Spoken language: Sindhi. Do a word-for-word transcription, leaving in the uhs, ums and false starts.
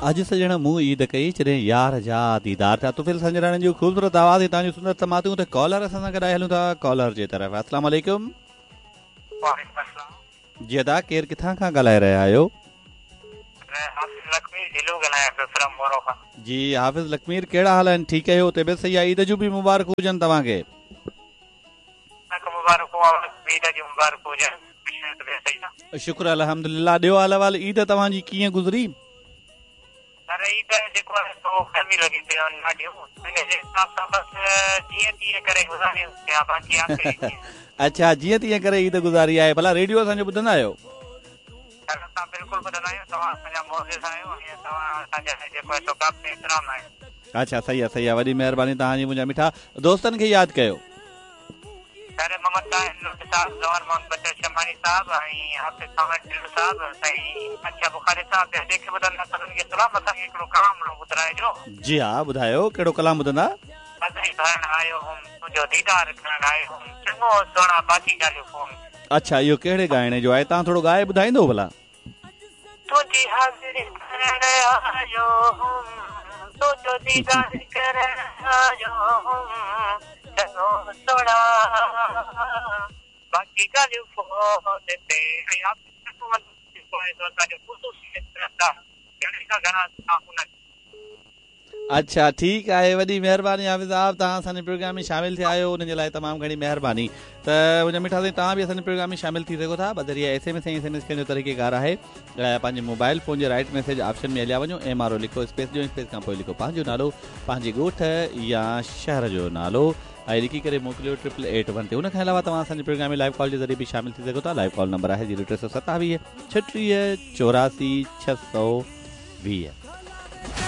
اڄ سڄڻ مون عيد ڪئي جڏهن يار جا ديدار ٿيا. طفيل سنجراڻي جو خوبصورت آواز ۽ توهان جون سندر سماعتون. ته ڪالر اسان سان گڏ آهي، هلون ٿا ڪالر جي طرف. السلام عليڪم. وعليڪم السلام. جي ادا، ڪير ڪٿان کان ڳالهائي رهيا آهيو؟ حافظ لکمير ڍلو ڳالهايان پيو فرام مورو کان. جي حافظ لکمير، ڪهڙا حال آهن؟ ٺيڪ آهيو؟ طبيعت صحيح آهي؟ عيد جون به مبارڪون هجن توهان کي. مبارڪون، عيد جون مبارڪون هجن. شڪر الحمدلله. ڏيو حال احوال، عيد توهان جي ڪيئن گذري؟ سر، عيد جيڪو آهي سو گرمي لڳي پئي آهي ڏاڍيون، ان جي حساب سان بس جيئن تيئن ڪري گذاريون پيا، باقي آخري. اڇا، جيئن تيئن ڪري عيد گذاري آهي. ڀلا ريڊيو اسان جو ٻڌندا آهيو؟ سر، اسان بلڪل ٻڌندا آهيون. توهان اسان جا معزز آهيو ۽ توهان اسان جا جيڪو آهي سو قابل احترام آهيو. اڇا، صحيح آهي، صحيح آهي. وڏي مهرباني توهان جي. منهنجا مٺا، دوستن کي ياد ڪيو. سر، محمد طاهر لنڊ صاحب، زوار محمد بچل شماڻي صاحب ۽ حافظ ساون ڍلو صاحب، سائين بادشاهه بخاري صاحب، ٻيا جيڪي ٻڌندا سڀني کي سلام. اسان کي هڪڙو ڪلام ٻڌرائجو. جي ها، ٻڌايو، ڪهڙو ڪلام ٻڌندا؟ حاضري ڀرڻ آيو هم، تنهنجو ديدار ڪرڻ آيو هم، چڱو سهڻا، باقي ڳالهيون فون. اڇا، اهو ڪهڙي ڳائڻي جو آهي؟ توهان ٿورو ڳائي ٻڌائيندو ڀلا؟ تنهنجي حاضري ڀرڻ آيو هم، تنهنجو ديدار ڪرڻ آيو هم، چڱو سهڻا، باقي ڳالهيون فون تي. ۽ جيڪو آهي سو اسان جو خصوصي گهڻي کان گهڻا ان. اڇا، ٺيڪ آهي. وڏي مهرباني حافظ صاحب، توهان اسان جي پروگرام ۾ شامل ٿيا آهيو، ان جي لاءِ تمام گهڻي مهرباني. ته منهنجا مٺا سائين، توهان به اسان جي پروگرام ۾ شامل ٿي سگهو ٿا. بذريعي S M S ۽ S M S ڪرڻ جو طريقيڪار آهي، پنهنجي موبائل فون جي رائٽ ميسيج آپشن ۾ هليا وڃو، ايم آر او لکو، اسپيس ڏيو، اسپيس کان پوءِ لکو پنهنجو نالو، پنهنجي ڳوٺ يا شهر جو نالو ۽ لکي ڪري موڪليو ٽرپل ايٽ ون تي. ان کان علاوه توهان اسان جي پروگرام ۾ لائيو ڪال جي ذريعي به شامل ٿي سگهو ٿا. لائيو ڪال نمبر آهي زيرو ٽي سؤ ستاويهه ڇٽيهه چوراسي ڇهه سؤ ويهه.